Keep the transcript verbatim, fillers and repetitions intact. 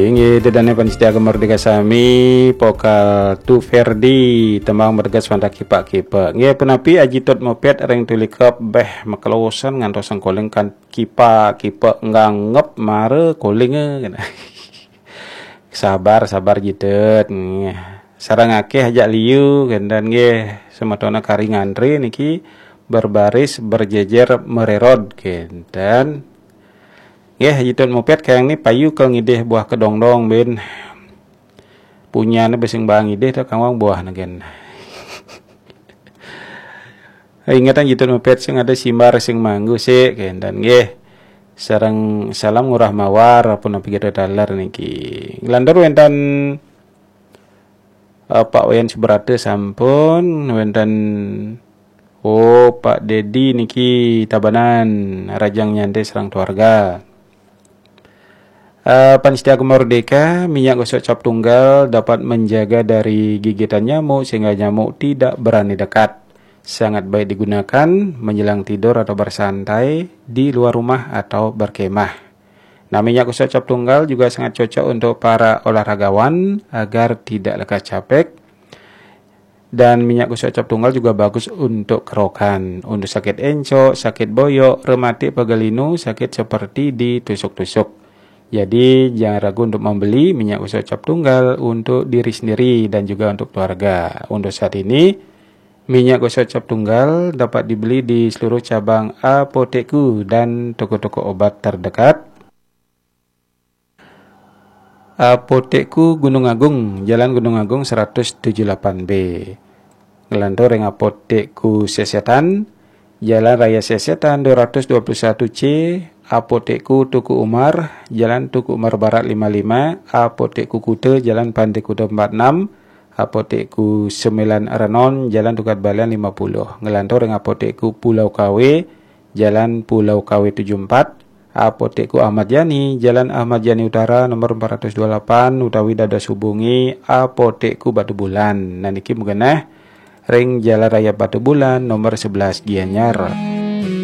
Inggih, ida dané pamiarsa Gema Merdeka sami, pokal Tu Ferdi, tembang bergas Wanda Kipak-Kipak. Nggih, punapi Aji Tut Mupit ring Tulikep, béh makelosan ngantos sengkoling kan kipak-kipak nganggep mara koling, eh, kéné. Sabar, sabar Ji Tut. Nggih. Sareng akéh ajak liu, kénten nggih, semetona kari ngantri niki berbaris berjejer mererod, kénten. Nggih, Ji Tut Mupit kayang ni payu kel ngidih buah kedongdong bin. Punyané besing bang ngidih ta kangwang buah negen. Ingetan Ji Tut Mupit sing ada simbar sing manggu sik, kénten nggih. Sareng salam ngurah mawar punapi kita taler niki. Nglantur wénten, eh, Pak Wayan Subrata sampun, wénten, oh, Pak Dedi niki Tabanan, rajang nyantai sareng keluarga. Eh, pamiarsa Gema Merdeka, minyak gosok cap tunggal dapat menjaga dari gigitan nyamuk sehingga nyamuk tidak berani dekat. Sangat baik digunakan menjelang tidur atau bersantai di luar rumah atau berkemah. Nah, minyak gosok cap tunggal juga sangat cocok untuk para olahragawan agar tidak lekas capek. Dan minyak gosok cap tunggal juga bagus untuk kerokan, untuk sakit encok, sakit boyok, rematik pegal linu, sakit seperti ditusuk-tusuk. Jadi, jangan ragu untuk membeli minyak gosok cap tunggal untuk diri sendiri dan juga untuk keluarga. Untuk saat ini, minyak gosok cap tunggal dapat dibeli di seluruh cabang Apotekku dan toko-toko obat terdekat. Apotekku Gunung Agung, Jalan Gunung Agung seratus tujuh lapan B. Nglantur ring Apotekku Sesetan, Jalan Raya Sesetan dua ratus dua puluh satu C, Apotekku Teuku Umar, Jalan Teuku Umar Barat lima lima, Apotekku Kuta, Jalan Pantai Kuta empat enam, Apotekku Sembilan Renon, Jalan Tukad Balian lima puluh. Nglantur ring Apotekku Pulau Kawe, Jalan Pulau Kawe tujuh empat, Apotekku Ahmad Yani, Jalan Ahmad Yani Utara nomor empat ratus dua lapan, utawi dados hubungi Apotekku Batubulan. Nah, niki magenah ring Jalan Raya Batubulan nomor sebelas Gianyar.